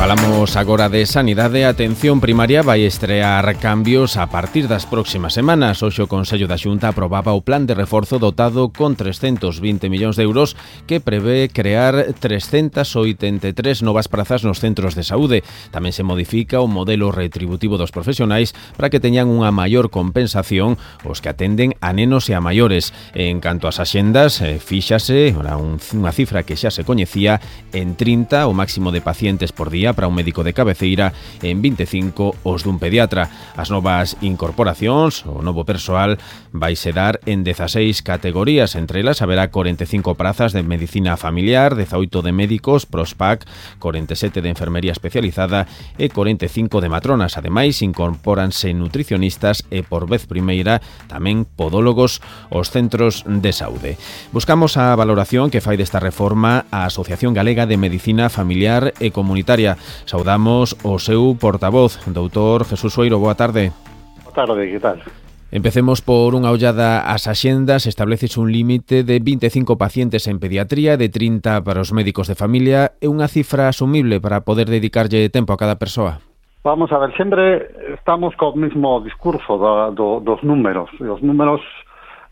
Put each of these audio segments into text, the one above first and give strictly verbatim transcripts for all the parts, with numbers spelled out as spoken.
Falamos agora de sanidade. A atención primaria vai estrear cambios a partir das próximas semanas. Hoxe o Consello da Xunta aprobaba o plan de reforzo dotado con trescentos vinte millóns de euros que prevé crear trescentas oitenta e tres novas prazas nos centros de saúde. Tamén se modifica o modelo retributivo dos profesionais para que teñan unha maior compensación os que atenden a nenos e a maiores. En canto ás axendas, fíxase unha cifra que xa se coñecía en trinta o máximo de pacientes por día para un médico de cabeceira, en vinte e cinco os dun pediatra. As novas incorporacións, o novo persoal, vaise dar en dezaseis categorías. Entre elas haberá corenta e cinco prazas de medicina familiar, dezaoito de médicos, prospac, corenta e sete de enfermería especializada e corenta e cinco de matronas. Ademais, incorpóranse nutricionistas e, por vez primeira, tamén podólogos aos centros de saúde. Buscamos a valoración que fai desta reforma a Asociación Galega de Medicina Familiar e Comunitaria. Saudamos o seu portavoz, doutor Jesús Soeiro. Boa tarde. Boa tarde, que tal? Empecemos por unha ollada ás axendas. Estableces un límite de vinte e cinco pacientes en pediatría, de trinta para os médicos de familia. É unha cifra asumible para poder dedicarlle tempo a cada persoa? Vamos a ver, sempre estamos co mesmo discurso da, do, dos números. E os números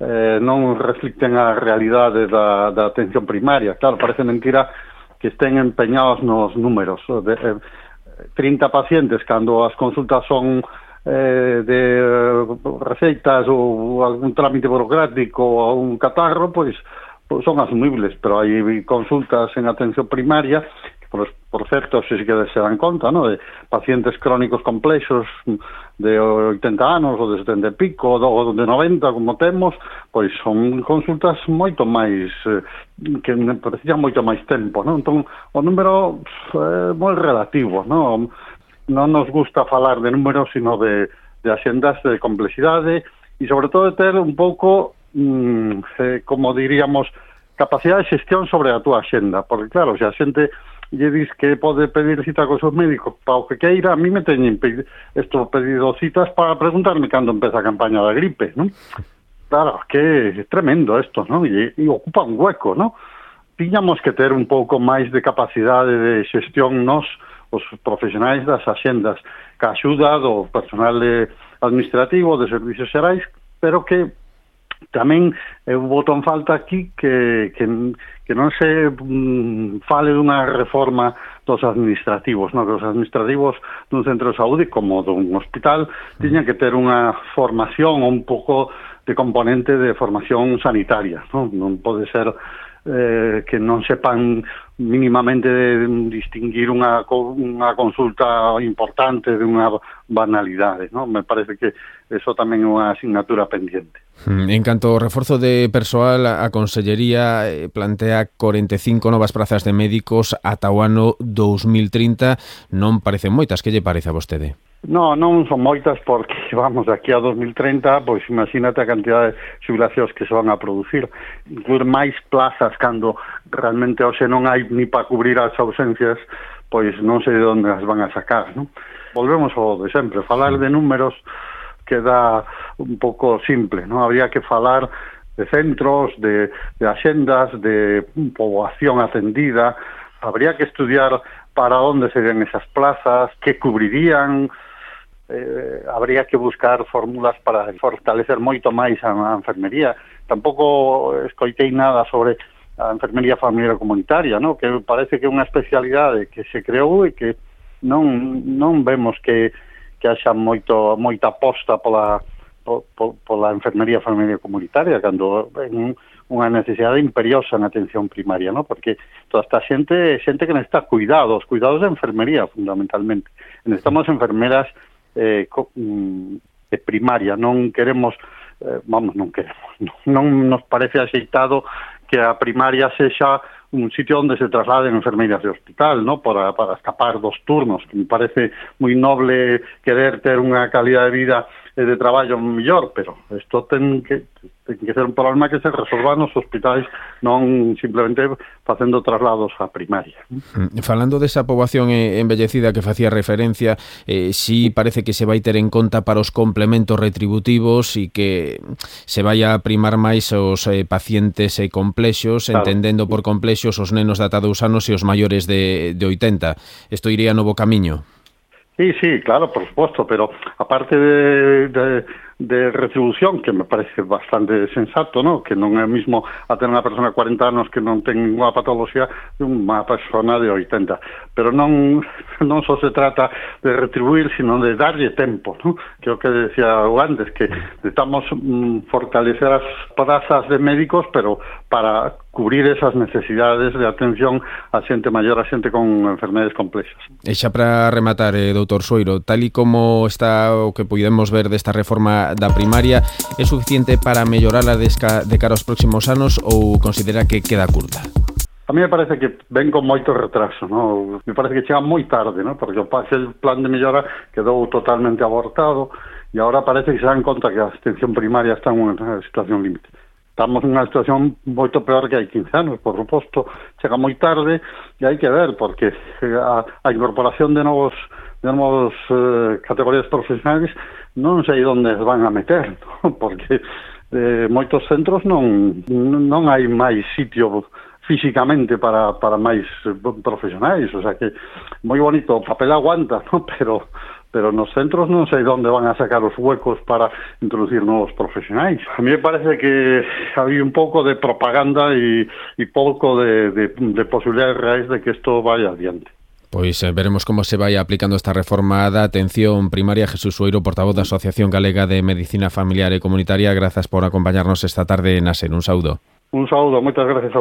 eh, non reflicten a realidade da, da atención primaria. Claro, parece mentira que estén empeñados nos números. De, eh, trinta pacientes, cando as consultas son eh, de receitas ou algún trámite burocrático ou un catarro, pois, pois son asumibles, pero hai consultas en atención primaria que, por, por certo, se que se dan conta, ¿no?, de pacientes crónicos complexos de oitenta anos ou de setenta e pico ou de noventa, como temos, pois son consultas moito máis eh, que precisan moito máis tempo, ¿no? Entón, o número é moi relativo, ¿no? Non nos gusta falar de números, sino de, de axendas de complexidade e, sobre todo, de ter un pouco, mmm, eh, como diríamos, capacidade de xestión sobre a túa axenda, porque, claro, se a xente lle dis que pode pedir cita con seus médicos para o que queira, a mí me teñen estou pedido citas para preguntarme cando empeza a campaña da gripe, non? Claro, que é tremendo isto, non? E, e ocupa un hueco, non? Tiñamos que ter un pouco máis de capacidade de xestión nos, os profesionais das axendas, que axuda do personal administrativo, de servicios xerais, pero que tamén eu boto en falta aquí que, que, que non se mm, fale dunha reforma dos administrativos, non? Que os administrativos dun centro de saúde como dun hospital tiñan que ter unha formación ou un pouco de componente de formación sanitaria, non? Non pode ser eh, que non sepan mínimamente de distinguir unha, unha consulta importante de unha banalidade, non? Me parece que eso tamén é unha asignatura pendiente. En canto ao reforzo de persoal, a Consellería plantea corenta e cinco novas prazas de médicos ata o ano dous mil trinta. Non parecen moitas, que lle parece a vostede? No, non son moitas porque, vamos, aquí a dos mil trinta, pois imagínate a cantidad de xubilacións que se van a producir. Incluir máis plazas cando realmente hoxe non hai ni para cubrir as ausencias, pois non sei de onde as van a sacar, non? Volvemos ao de sempre, falar de números queda un pouco simple, non? Habría que falar de centros, de, de axendas, de poboación atendida. Habría que estudiar para onde serían esas plazas, que cubrirían. Eh, habría que buscar fórmulas para fortalecer moito máis a, a enfermería. Tampouco escoitei nada sobre a enfermería familiar comunitaria, ¿no? Que parece que é unha especialidade que se creou e que non, non vemos que, que haxa moito, moita aposta pola, po, po, pola enfermería familiar comunitaria, cando en unha necesidade imperiosa na atención primaria, ¿no? Porque toda esta xente, xente que necesita cuidados, cuidados de enfermería, fundamentalmente. Necesitamos enfermeras eh, de primaria, non queremos, eh, vamos, non queremos, non, non nos parece axeitado que a primaria sexa un sitio onde se trasladen enfermeiras de hospital, ¿no? Para, para escapar dos turnos, que me parece moi noble querer ter unha calidad de vida e de traballo mellor, pero isto ten que, ten que ser un problema que se resolva nos hospitais, non simplemente facendo traslados á primaria. Falando desa poboación envellecida que facía referencia, eh, si parece que se vai ter en conta para os complementos retributivos e que se vai a primar máis os eh, pacientes eh, complexos, claro, entendendo por complexos os nenos de ata dous anos e os maiores de, de oitenta. Isto iría no bo camiño? Sí, sí, claro, por supuesto, pero aparte de, de, de retribución, que me parece bastante sensato, ¿no? Que non é mismo a ter unha persona de cuarenta anos que non ten ninguna patología de unha persona de oitenta. Pero non, non só se trata de retribuir, sino de darlle tempo, ¿no? Que é o que decía antes, que necesitamos mm, fortalecer as plazas de médicos, pero para cubrir esas necesidades de atención a xente maior, a xente con enfermedades complexas. E xa para rematar, eh, doutor Sueiro, tal e como está o que podemos ver desta reforma da primaria, é suficiente para mellorala de cara aos próximos anos ou considera que queda curta? A mí me parece que ven con moito retraso, ¿no? Me parece que chega moi tarde, ¿no? Porque o plan de mellora quedou totalmente abortado e agora parece que se dan conta que a atención primaria está en unha situación límite. Estamos nunha situación moito peor que hai quince anos, por suposto, chega moi tarde e hai que ver, porque a, a incorporación de novos de novos eh, categorías profesionais non sei onde van a meter, ¿no? Porque eh, moitos centros non non hai máis sitio físicamente para, para máis profesionais, o sea que moi bonito, o papel aguanta, ¿no? Pero pero nos centros non sei onde van a sacar os huecos para introducir novos profesionais. A mí me parece que había un pouco de propaganda e, e pouco de, de, de posibilidades reais de que isto vaya adiante. Pois eh, veremos como se vai aplicando esta reforma da atención primaria. Jesús Sueiro, portavoz da Asociación Galega de Medicina Familiar e Comunitaria, grazas por acompañarnos esta tarde na SER. Un saúdo. Un saúdo, moitas gracias a